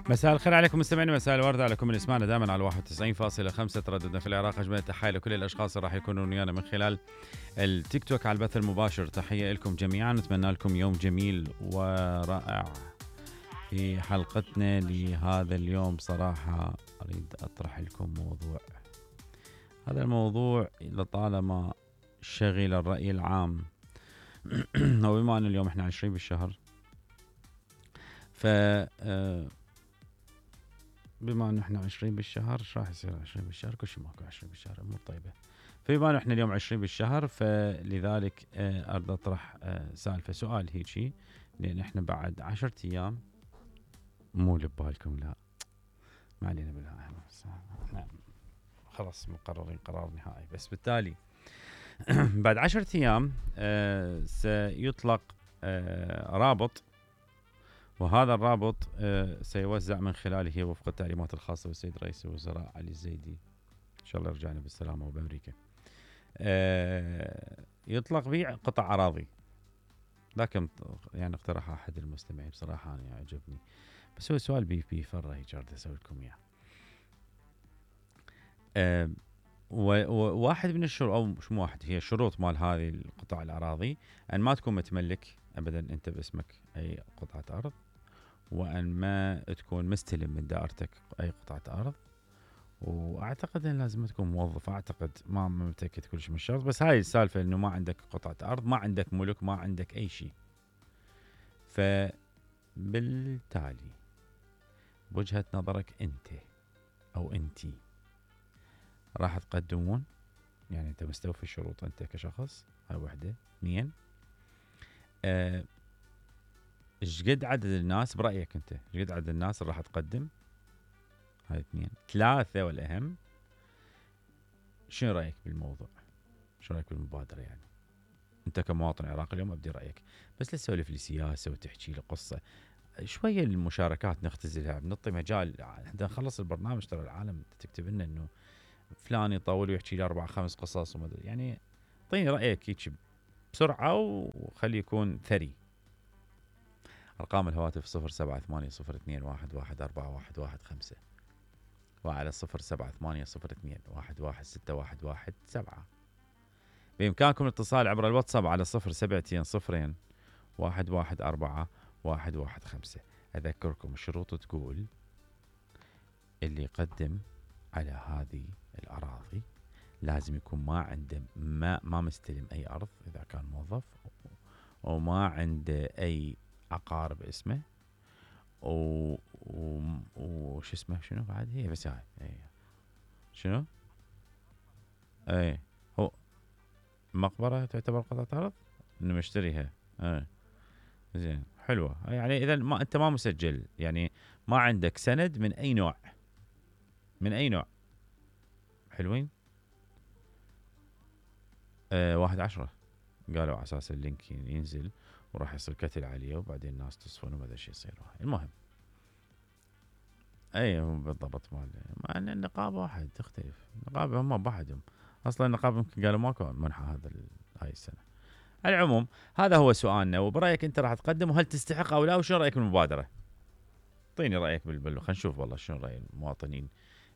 مساء الخير عليكم مستمعينا، مساء الورد عليكم اللي يسمعنا دائما على 91.5 ترددنا في العراق. اجمل التحيه لكل الاشخاص اللي راح يكونون ويانا من خلال التيك توك على البث المباشر. تحيه لكم جميعا، نتمنى لكم يوم جميل ورائع. في حلقتنا لهذا اليوم صراحه اريد اطرح لكم موضوع. هذا الموضوع لطالما شغل الراي العام وبما ان اليوم احنا 20 بالشهر، ف بما انه احنا 20 بالشهر ايش راح يصير 20 بالشهر؟ كل شيء ماكو 20 بالشهر، امور طيبه. فبما انه احنا اليوم 20 بالشهر، فلذلك اريد اطرح سالفه سؤال هيجي، لان احنا بعد 10 ايام، مو اللي ببالكم لا، ما علينا بالله، احنا خلاص مقررين قرار نهائي. بس بالتالي بعد 10 ايام سيطلق رابط، وهذا الرابط سيوزع من خلاله وفق التعليمات الخاصة بالسيد رئيس الوزراء علي الزيدي، إن شاء الله يرجعنا بالسلامة وبأمريكا. يطلق بيع قطع أراضي. لكن يعني اقترح أحد المستمعين، بصراحة أنا عجبني، بس هو سؤال بيفرح هيك أريد أسوي لكم إياه. وواحد من الشروط، أو مش واحد، هي شروط مال هذه القطع الأراضي، أن ما تكون متملك أبدا أنت باسمك أي قطعة أرض، وأن ما تكون مستلم من دائرتك أي قطعة أرض، وأعتقد أن لازم تكون موظف. أعتقد ما متأكد كل شيء من الشرط، بس هاي السالفة أنه ما عندك قطعة أرض، ما عندك ملك، ما عندك أي شيء. فبالتالي بوجهة نظرك أنت أو أنتي راح تقدمون، يعني أنت مستوفي الشروط أنت كشخص، هاي وحدة. 2، ايش قد عدد الناس برأيك انت؟ ايش قد عدد الناس اللي راح تقدم؟ هاي 2. 3 والأهم، شنو رأيك بالموضوع؟ شنو رأيك بالمبادرة؟ يعني انت كمواطن عراقي اليوم ابدي رأيك، بس لا تسولف لي سياسة وتحكي لي قصة. شوية المشاركات نختزلها، بنعطي مجال حتى نخلص البرنامج. ترى العالم تكتب لنا انه فلان يطول ويحكي لي 4-5 قصص وما ادري، يعني اعطيني رأيك هيك بسرعة وخلي يكون ثري. أرقام الهواتف 0780211415 وعلى 078021161117. بإمكانكم الاتصال عبر الواتساب على 0720114115. أذكركم الشروط تقول اللي يقدم على هذه الأراضي لازم يكون ما عنده ما مستلم أي أرض إذا كان موظف، وما عنده أي عقار باسمه، وش اسمه شنو بعد؟ هي بس هاي شنو؟ اي هو مقبرة تعتبر قطعة أرض انه مشتريها. زين، حلوة. يعني اذا ما انت ما مسجل، يعني ما عندك سند من اي نوع، من اي نوع. حلوين. 1/10 قالوا على اساس اللينك ينزل وراح يصير كتل عليه، وبعدين الناس تصفون وما ادري شو يصير. المهم اي هو بالضبط مع ان النقابه واحد تختلف. النقابه هم بحدهم اصلا. النقابه يمكن قالوا ماكو منحه هاي السنه. العموم هذا هو سؤالنا، وبرايك انت راح تقدم وهل تستحق او لا، وشنو رايك بالمبادره؟ اعطيني رايك خلينا نشوف والله شنو راي المواطنين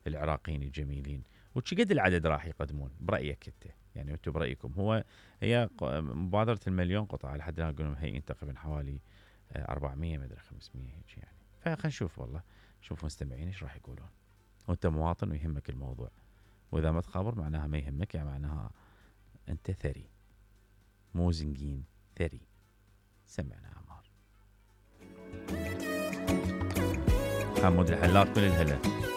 العراقيين الجميلين، وش قد العدد راح يقدمون برايك انت. يعني انتم برايكم. هي مبادره المليون قطعه لحد الان يقولون هي تقريبا حوالي 400 ما ادري 500 هيك يعني. فخلينا نشوف والله، شوف مستمعين ايش راح يقولون. وانت مواطن ويهمك الموضوع، واذا ما تخابر معناها ما يهمك، يعني معناها انت ثري مو زنقين، ثري. سمعنا عمار حمود الحلات كل الهلا.